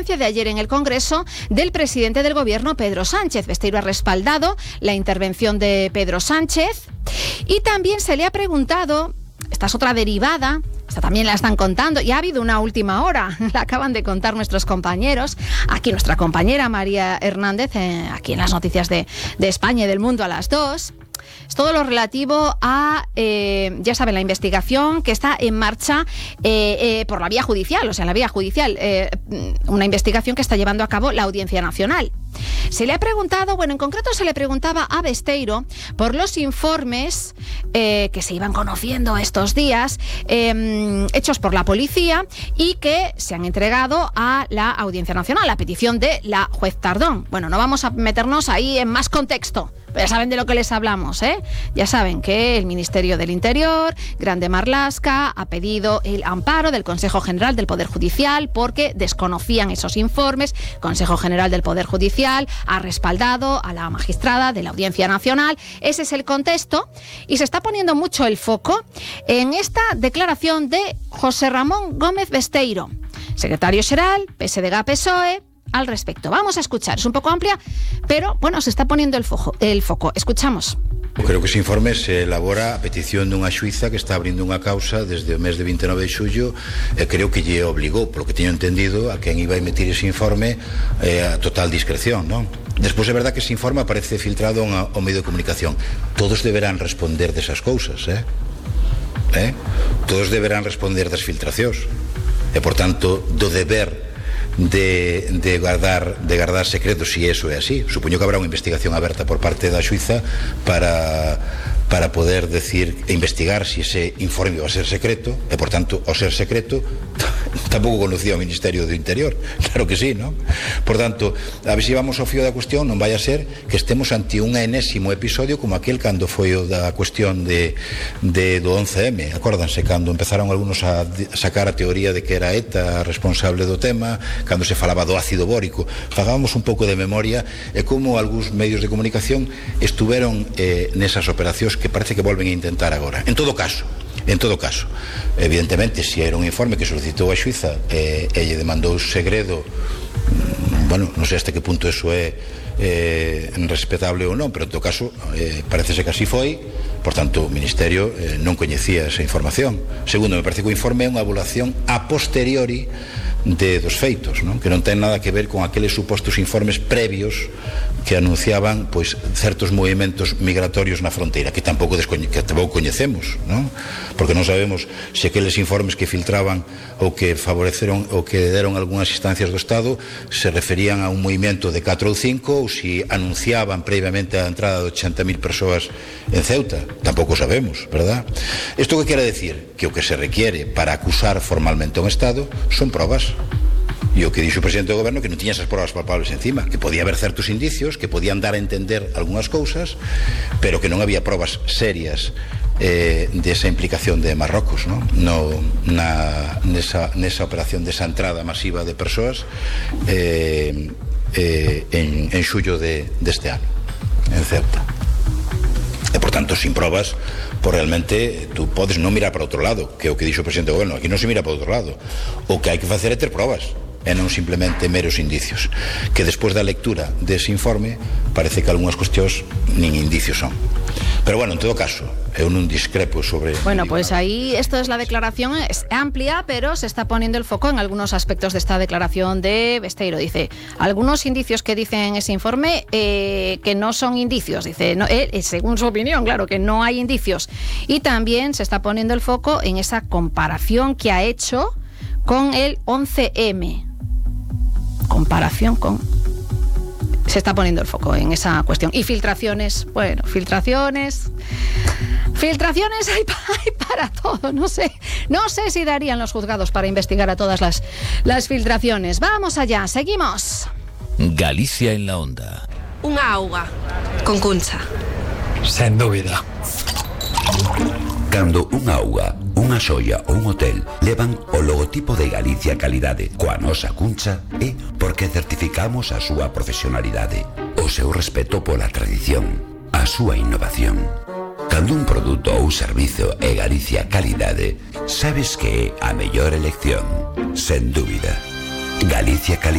de ayer en el Congreso del presidente del Gobierno, Pedro Sánchez. Besteiro ha respaldado la intervención de Pedro Sánchez y también se le ha preguntado, esta es otra derivada, esta también la están contando, y ha habido una última hora, la acaban de contar nuestros compañeros, aquí nuestra compañera María Hernández, aquí en las noticias de España y del mundo a las 2. Es todo lo relativo a, ya saben, la investigación que está en marcha por la vía judicial, o sea, en la vía judicial, una investigación que está llevando a cabo la Audiencia Nacional. Se le ha preguntado, bueno, en concreto se le preguntaba a Besteiro por los informes que se iban conociendo estos días, hechos por la policía y que se han entregado a la Audiencia Nacional, a petición de la juez Tardón. Bueno, no vamos a meternos ahí en más contexto. Ya saben de lo que les hablamos, ¿eh? Ya saben que el Ministerio del Interior, Grande Marlaska, ha pedido el amparo del Consejo General del Poder Judicial porque desconocían esos informes. Consejo General del Poder Judicial ha respaldado a la magistrada de la Audiencia Nacional. Ese es el contexto y se está poniendo mucho el foco en esta declaración de José Ramón Gómez Besteiro, secretario xeral, PSDG-PSOE, al respecto. Vamos a escuchar, es un poco amplia, pero bueno, se está poniendo el foco. Escuchamos. Creo que ese informe se elabora a petición dunha xuíza que está abrindo unha causa desde o mes de 29 de xullo e creo que lle obligou, polo que teño entendido, a quen iba a emitir ese informe a total discreción, non? Despois é verdad que ese informe aparece filtrado ao medio de comunicación. Todos deberán responder desas cousas, Todos deberán responder das filtracións e, por tanto, do deber de guardar secretos, si eso é así. Supoño que habrá unha investigación aberta por parte da xuíza para poder decir e investigar si ese informe va a ser secreto e, por tanto, ao ser secreto tampouco conocía o Ministerio do Interior. Claro que sí, non? Por tanto, a ver se vamos ao fío da cuestión, non vai a ser que estemos ante un enésimo episodio como aquel cando foi o da cuestión do 11M. Acórdanse, cando empezaron algunos a sacar a teoría de que era ETA responsable do tema, cando se falaba do ácido bórico. Fagábamos un pouco de memoria e como algúns medios de comunicación estuveron nesas operacións que parece que volven a intentar agora. En todo caso, evidentemente, se era un informe que solicitou a xuíza e lle demandou segredo, bueno, non sei hasta que punto eso é respetable ou non, pero en todo caso parecese que así foi. Por tanto, o Ministerio non coñecía esa información. Segundo, me parece que o informe é unha evaluación a posteriori dos feitos, non? Que non ten nada que ver con aqueles supostos informes previos que anunciaban pois certos movimentos migratorios na fronteira que tampouco coñecemos, non? Porque non sabemos se aqueles informes que filtraban ou que favoreceron ou que deron algunhas instancias do Estado se referían a un movimento de 4 ou 5 ou se anunciaban previamente a entrada de 80.000 persoas en Ceuta. Tampouco sabemos, verdad? Isto que quere decir? Que o que se requiere para acusar formalmente a un Estado son probas. E o que dixo o presidente do goberno que non tiña esas probas palpables encima, que podía haber certos indicios que podían dar a entender algunhas cousas, pero que non había probas serias desa implicación de Marrocos, non? Nesa operación desa entrada masiva de persoas en xullo deste ano en Ceuta. E, por tanto, sin probas, pues realmente tú podes non mirar para outro lado, que é o que dixo o presidente do goberno. Aquí non se mira para outro lado. O que hai que facer é ter probas e non simplemente meros indicios, que despois da lectura dese informe parece que algunhas cuestións nin indicios son. Pero bueno, en todo caso, eu non discrepo sobre... Bueno, pues ahí esto es la declaración, es amplia, pero se está poniendo el foco en algunos aspectos de esta declaración de Besteiro. Dice, algunos indicios que dicen ese informe que no son indicios. Dice, no, según su opinión, claro, que no hay indicios. Y también se está poniendo el foco en esa comparación que ha hecho con el 11M. Comparación con... Se está poniendo el foco en esa cuestión. Y filtraciones, bueno, filtraciones hay para todo. No sé si darían los juzgados para investigar a todas las filtraciones. Vamos allá, seguimos. Galicia en la onda. Unha auga con cuncha. Sen dúbida. Cando unha auga, unha xoia ou un hotel levan o logotipo de Galicia Calidade coa nosa cuncha é porque certificamos a súa profesionalidade, o seu respeto pola tradición, a súa innovación. Cando un produto ou servizo é Galicia Calidade, sabes que é a mellor elección, sen dúbida. Galicia Calidade.